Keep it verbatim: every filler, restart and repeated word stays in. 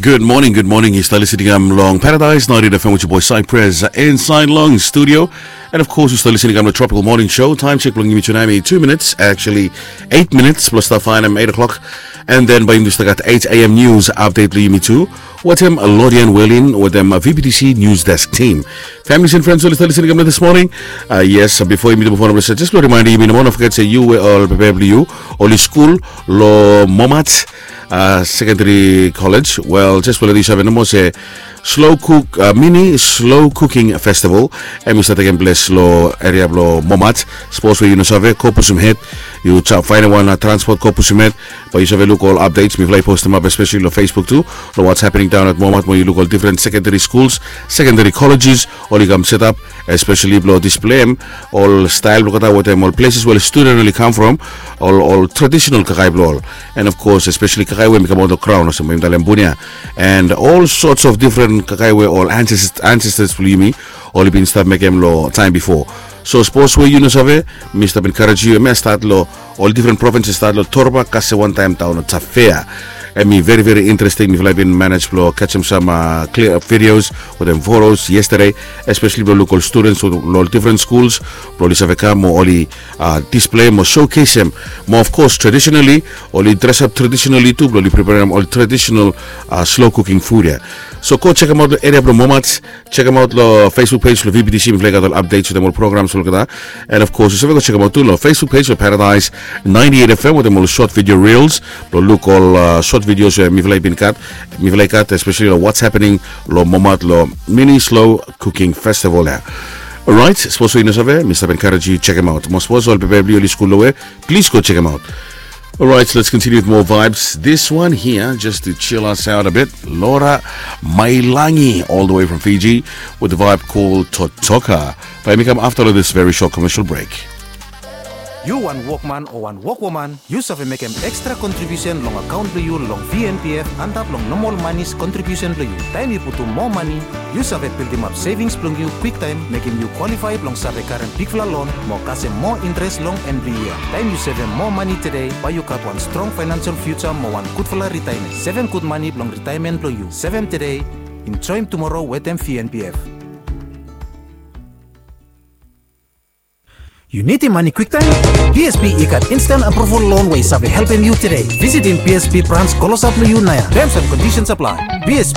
Good morning, good morning. Yu stap listening kam long Paradise ninety-eight F M with your boy Cypress inside long studio. And of course, yu stap listening kam long Tropical Morning Show. Time check blong yumi tu nau hemi two minutes, actually eight minutes blong stap faenem eight o'clock. And then bae yumi stap gat eight a.m. news update blong yumi tu wetem Lodian Welin wetem V B T C News Desk team. Families and friends oli stap listening kam long this morning. Yes, bifo yumi tu move on, just blong remind yumi nomo, no forget se yu we ol pepe blong yu oli skul long Momat Secondary College. Wel, just blong leta yu save nomo se slow cook, mini slow cooking festival hemi stap tekem ples long eria blong Momat. Sapos we yu no save, go pusum hed. Yu faenem wan transport, go pusum hed. Bae yu save luk ol updates mifala i postem ap, especially long Facebook tu, long what's happening down at Momat, mo yu luk ol different secondary schools, secondary colleges oli kam setap, especially blong displem ol stael blong olgeta wetem ol places we ol student oli kam from, ol traditional kakae blong ol. And of course, especially kakae we hemi kamaot long graon olsem we yumi talem bunia, and all sorts of different kakae we ol ancestors blong yumi oli bin stap mekem long taem bifo. So sapos we yu no save, mi stap encourage yu, hemia stat long ol different provinces, stat long Torba, kasem wantaem daon long Tafea. Hemi very very interesting. Mifala i bin manage blong kajem sam clear up videos wetem photos yesterday, especially blong luk ol students long ol different schools blong oli save kam mo oli displem mo showcasem mo, of course, traditionally oli dress up traditionally tu blong oli preparem ol traditional slow cooking food ia. So go jekemaot long eria blong Momat. Jekemaot long Facebook page blong V B T C, mifala i gat ol updates wetem ol programs blong olgeta. And of course, yu save go jekemaot tu long Facebook page blong Paradise ninety-eight F M wetem ol short video reels blong luk ol short videos we mifala i bin gat, mifala i gat, especially long what's happening long Momat long mini slow cooking festival ia. Alright, sapos we yu no save, mi stap encourage yu jekemaot. Mo sapos ol pepe blong yu oli skul long we, please go jekemaot. Alright, let's continue with more vibes. This one here, just to chill us out a bit, Laura Mailangi, all the way from Fiji, with the vibe called Totoka. Bae hemi kam afta long this very short commercial break. Yu wan wokman o wan wokwoman, yu save mekem extra contribution long akaon blong yu long V N P F antap long nomol manis contribution blong yu. Taem yu putum moa mani, yu save bildimap savings blong yu kwiktaem, mekem yu qualify blong save karem bigfala loan mo kasem moa interes long en blong yia. Taem yu sevem moa mani tede, bae yu gat wan strong financial future mo wan gudfala ritaemen. Sevem gud mani blong ritaemen blong yu. Sevem tede, enjoem tumoro wetem V N P F. Yu nidim mani kwiktaem? B S P i gat instant approval loan we i save helpem yu tede. Visitim B S P brans klosap long yu naoia. Terms and conditions apply. B S P,